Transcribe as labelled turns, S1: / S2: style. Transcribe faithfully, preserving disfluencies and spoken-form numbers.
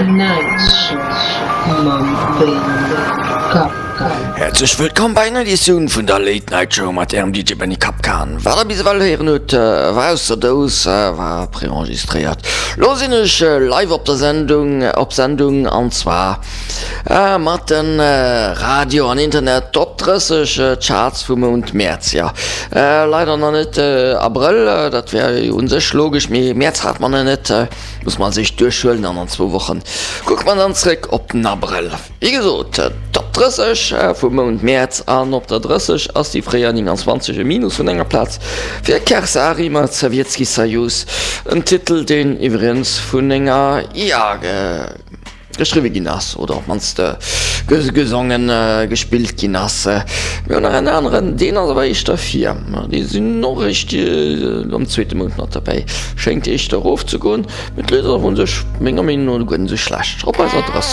S1: Night Show mam Benny Kapkan.
S2: Häerzlech wëllkomm bei enger Editioun vun der Late Night Show mat ärem D J Benny Kapkan. Wat der bis ewell héieren hutt, war aus der Dous, war preenregistréiert. Lo sinn ech live op der Sendung, op Sendung an zwar mat den Radio an Internet Top drësseg Charts vum Mount Mäerz. Jo, leider nach net Abrëll, dat wär jo un sech logesch, mee Mäerz hat mer nach net. Muss mer als éischt duerchhuelen an an zwou Wochen kucke mer dann zréck op den Abrëll. Wéi gesot, Top drësseg vum Mount Mäerz an op der drësseg ass déi fréier neunundzwanzeg e Minus vun enger Plaz fir Kersari mat Sowjetski Sojus, en Titel deen iwwregens vun enger I A geschriwwe ginn ass oder op d'mannst gesongen, gespillt ginn ass. Mir hunn nach en aneren, deen ass awer éischter vir, déi sinn och eréischt am zweete Mount mat derbäi, schéngt éischter erofzegoen, mee d'Lidd ass u sech menger Meenung no guer net esou schlecht. Op eiser drësseg.